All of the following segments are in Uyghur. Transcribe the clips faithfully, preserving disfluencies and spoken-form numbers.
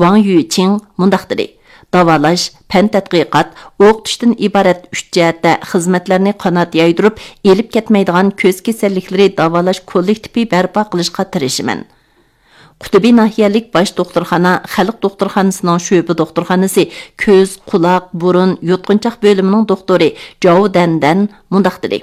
ۋاڭ يۈچىڭ مۇنداق دېدى: داۋالاش، پەن تەتقىقات، ئوقۇتۇشتىن ئىبارەت ئۈچ جەھەتتە خىزمەتلەرنى قانات يايدۇرۇپ، ئېلىپ كەتمەيدىغان كۆز كېسەللىكلىرى داۋالاش كوللېكتىپى بەرپا قىلىشقا تىرىشىمەن. قۇتبى ناھىيەلىك باش دوختۇرخانا خەلق دوختۇرخانىسىنىڭ شۆبە دوختۇرخانىسى كۆز، قۇلاق، بۇرۇن، يۇتقۇنچاق بۆلۈمىنىڭ دوختۇرى جاۋ دەندەن مۇنداق دېدى: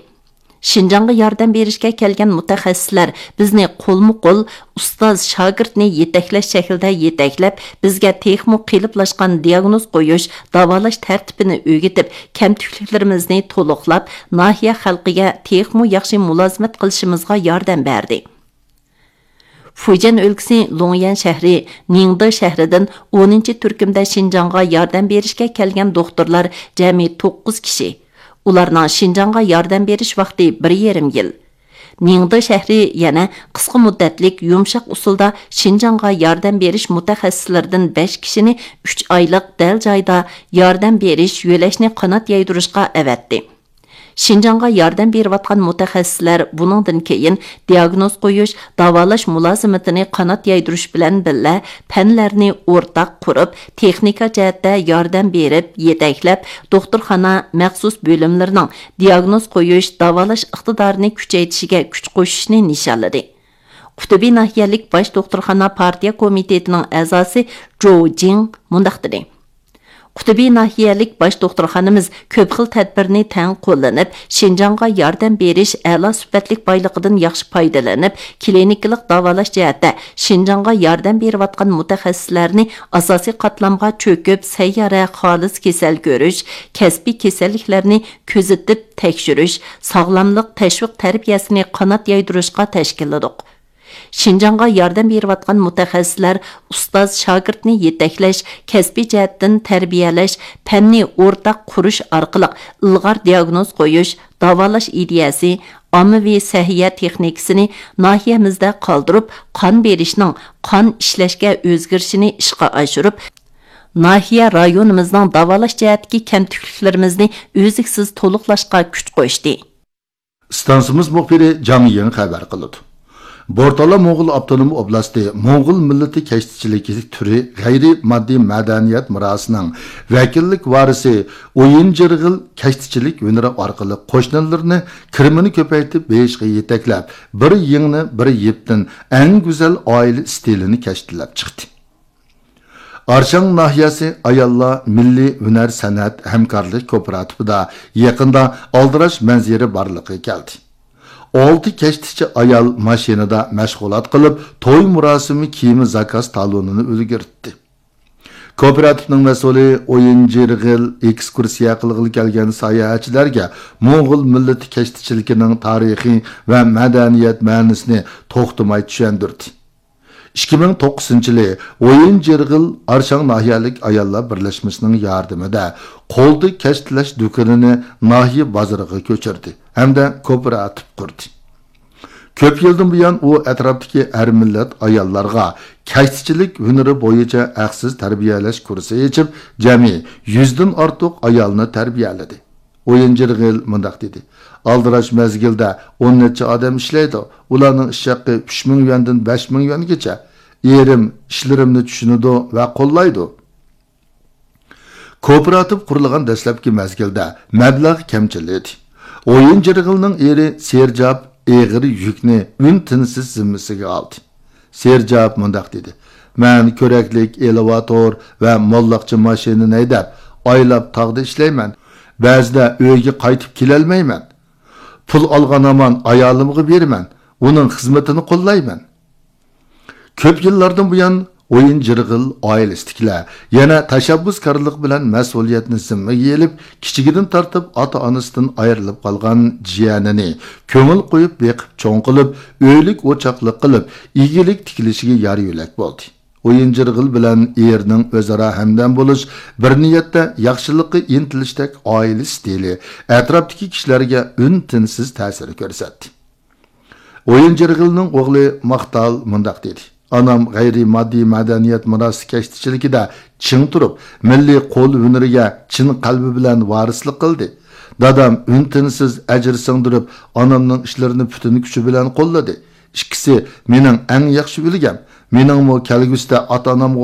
شىنجاڭغا ياردەم بېرىشكە كەلگەن مۇتەخەسسىسلەر بىزنى قولمۇ قول، ئۇستاز شاگىرتنى يېتەكلەش شەكلىدە يېتەكلەپ، بىزگە تېخىمۇ قېلىپلاشقان دىياگنوز قويۇش، داۋالاش تەرتىپىنى ئۆگىتىپ، كەمتۈكلۈكلىرىمىزنى تولۇقلاپ، ناھىيە خەلقىگە تېخىمۇ ياخشى مۇلازىمەت قىلىشىمىزغا ياردەم بەردى. فۇجيەن ئۆلكىسى لۇڭيەن شەھىرى نىڭدې شەھىرىدىن ئونىنچى تۈركۈمدە شىنجاڭغا ياردەم بېرىشكە كەلگەن دوختۇرلار جەمئىي توققۇز كىشى. ئۇلارنىڭ شىنجاڭغا ياردەم بېرىش ۋاقتى بىر يېرىم يىل. نىڭدې شەھىرى يەنە قىسقا مۇددەتلىك يۇمشاق ئۇسۇلدا شىنجاڭغا ياردەم بېرىش مۇتەخەسسىسلىرىدىن بەش كىشىنى ئۈچ ئايلىق دەل جايدا ياردەم بېرىش يۆلەشنى قانات يايدۇرۇشقا ئەۋەتتى. شىنجاڭغا ياردەم بېرىۋاتقان مۇتەخەسسىسلەر بۇنىڭدىن كېيىن دىياگنوز قويۇش، داۋالاش مۇلازىمىتىنى قانات يايدۇرۇش بىلەن بىللە، پەنلەرنى ئورتاق قۇرۇپ، تېخنىكا جەھەتتە ياردەم بېرىپ، يېتەكلەپ، دوختۇرخانا، مەخسۇس بۆلۈملىرىنىڭ دىياگنوز قويۇش، داۋالاش ئىقتىدارىنى كۈچەيتىشىگە كۈچ قوشۇشنى نىشانلىدى. قۇتبى ناھىيەلىك باش دوختۇرخانا پارتىيە كومىتېتىنىڭ ئەزاسى جوۋ جىڭ مۇنداق دېدى: قۇتبى ناھىيەلىك باش دوختۇرخانىمىز كۆپ خىل تەدبىرنى تەڭ قوللىنىپ، شىنجاڭغا ياردەم بېرىش ئەلا سۈپەتلىك بايلىقىدىن ياخشى پايدىلىنىپ، كلىنىكىلىق داۋالاش جەھەتتە شىنجاڭغا ياردەم بېرىۋاتقان مۇتەخەسسىسلەرنى ئاساسىي قاتلامغا چۆكۈپ، سەييارە خالىس كېسەل كۆرۈش، كەسپىي كېسەللىكلەرنى كۆزىتىپ تەكشۈرۈش، ساغلاملىق تەشۋىق تەربىيەسىنى قانات يايدۇرۇشقا تەشكىللىدۇق. شىنجاڭغا ياردەم بېرىۋاتقان مۇتەخەسسىسلەر ئۇستاز شاگىرتنى يېتەكلەش، كەسپىي جەھەتتىن تەربىيەلەش، پەننى ئورتاق قۇرۇش ئارقىلىق ئىلغار دىياگنوز قويۇش، داۋالاش ئىدىيەسى، ئاممىۋى سەھىيە تېخنىكىسىنى ناھىيەمىزدە قالدۇرۇپ، قان بېرىشنىڭ قان ئىشلەشكە ئۆزگىرىشىنى ئىشقا ئاشۇرۇپ، ناھىيە رايونىمىزنىڭ داۋالاش جەھەتتىكى كەمتۈكلۈكلىرىمىزنى ئۈزلۈكسىز تولۇقلاشقا كۈچ قوشتى. ئىستانسىمىز مۇخبىرى جاڭ يىڭ خەۋەر قىلىدۇ. بورتالا موڭغۇل ئاپتونوم ئوبلاستى موڭغۇل مىللىتى كەشتىچىلىكى تۈرى غەيرىي ماددىي مەدەنىيەت مىراسىنىڭ ۋەكىللىك ۋارىسى ئويۇن جىرغىل كەشتىچىلىك ھۈنىرى ئارقىلىق قوشنىلىرىنى كىرىمىنى كۆپەيتىپ بېيىشقا يېتەكلەپ، بىر يىڭنە بىر يىپتىن ئەڭ گۈزەل ئائىلە ئىستىلىنى كەشتىلەپ چىقتى. ئارشاڭ ناھىيەسى ئاياللار مىللىي ھۈنەر سەنئەت ھەمكارلىق كوپىراتىپىدا يېقىندا ئالدىراش مەنزىرە بارلىققا كەلدى. ئالتە كەشتىچى ئايال ماشىنىدا مەشغۇلات قىلىپ، توي مۇراسىمى كىيىمى زاكاز تالونىنى ئۈلگۈرتتى. كوپىراتىپنىڭ مەسئۇلى ئويۇن جىرغىل ئېكسكۇرسىيە قىلغىلى كەلگەن ساياھەتچىلەرگە موڭغۇل مىللىتى كەشتىچىلىكىنىڭ تارىخى ۋە مەدەنىيەت مەنىسىنى توختىماي چۈشەندۈردى. ئىككى مىڭ توققۇزىنچى يىلى ئويۇن جىرغىل ئارشاڭ ناھىيەلىك ئاياللار بىرلەشمىسىنىڭ ياردىمىدە قولدا كەشتىلەش دۇكىنىنى ناھىيە بازىرىغا كۆچۈردى ھەمدە كوپىراتىپ قۇردى. كۆپ يىلدىن بۇيان ئۇ ئەتراپتىكى ھەر مىللەت ئاياللارغا كەشتىچىلىك ھۈنىرى بويىچە ھەقسىز تەربىيەلەش كۇرسى ئېچىپ، جەمئىي يۈزدىن ئارتۇق ئايالنى تەربىيەلىدى. ئويۇن جىرغىل مۇنداق دېدى: ئالدىراش مەزگىلدە ئون نەچچە ئادەم ئىشلەيدۇ، ئۇلارنىڭ ئىش ھەققى ئۈچ مىڭ يۈەندىن بەش مىڭ يۈەنگىچە. ئېرىم ئىشلىرىمنى چۈشىنىدۇ ۋە قوللايدۇ. كوپىراتىپ قۇرۇلغان دەسلەپكى مەزگىلدە مەبلەغ كەمچىل ئىدى. ئويۇن جىرغىلنىڭ ئېرى سېرجاپ ئېغىر يۈكنى ئۈن-تىنسىز زىممىسىگە ئالدى. سېرجاپ مۇنداق دېدى: مەن كۆرەكلىك، ئېلېۋاتور ۋە موللاقچە ماشىنىنى ھەيدەپ، ئايلاپ تاغدا ئىشلەيمەن. بەزىدە ئۆيگە قايتىپ كېلەلمەيمەن. پۇل ئالغان ھامان ئايالىمغا بېرىمەن، ئۇنىڭ خىزمىتىنى قوللايمەن. كۆپ يىللاردىن بۇيان ئويۇن جىرغىل ئائىلىسىدىكىلەر يەنە تەشەببۇسكارلىق بىلەن مەسئۇلىيەتنى زىممىگە ئېلىپ، كىچىكىدىن تارتىپ ئاتا-ئانىسىدىن ئايرىلىپ قالغان جىيەنىنى كۆڭۈل قويۇپ بېقىپ چوڭ قىلىپ، ئۆيلۈك ئوچاقلىق قىلىپ، ئىگىلىك تىكلىشىگە يار يۆلەك بولدى. ئويۇن جىرغىل بىلەن ئېرىنىڭ ئۆزئارا ھەمدەم بولۇش، بىر نىيەتتە ياخشىلىققا ئىنتىلىشتەك ئائىلە ئىستىلى ئەتراپتىكى كىشىلەرگە ئۈن-تىنسىز تەسىر كۆرسەتتى. ئويۇن جىرغىلنىڭ ئوغلى ماختال مۇنداق دېدى: ئانام غەيرىي ماددىي مەدەنىيەت مىراسى كەشتىچىلىكىدە چىڭ تۇرۇپ، مىللىي قول ھۈنىرىگە چىن قەلبى بىلەن ۋارىسلىق قىلدى. دادام ئۈن-تىنسىز ئەجىر سىڭدۈرۈپ، ئانامنىڭ ئىشلىرىنى پۈتۈن كۈچى بىلەن قوللىدى. ئىككىسى مېنىڭ ئەڭ ياخشى ئۈلگەم. مېنىڭمۇ كەلگۈسىدە ئاتا-ئانامغا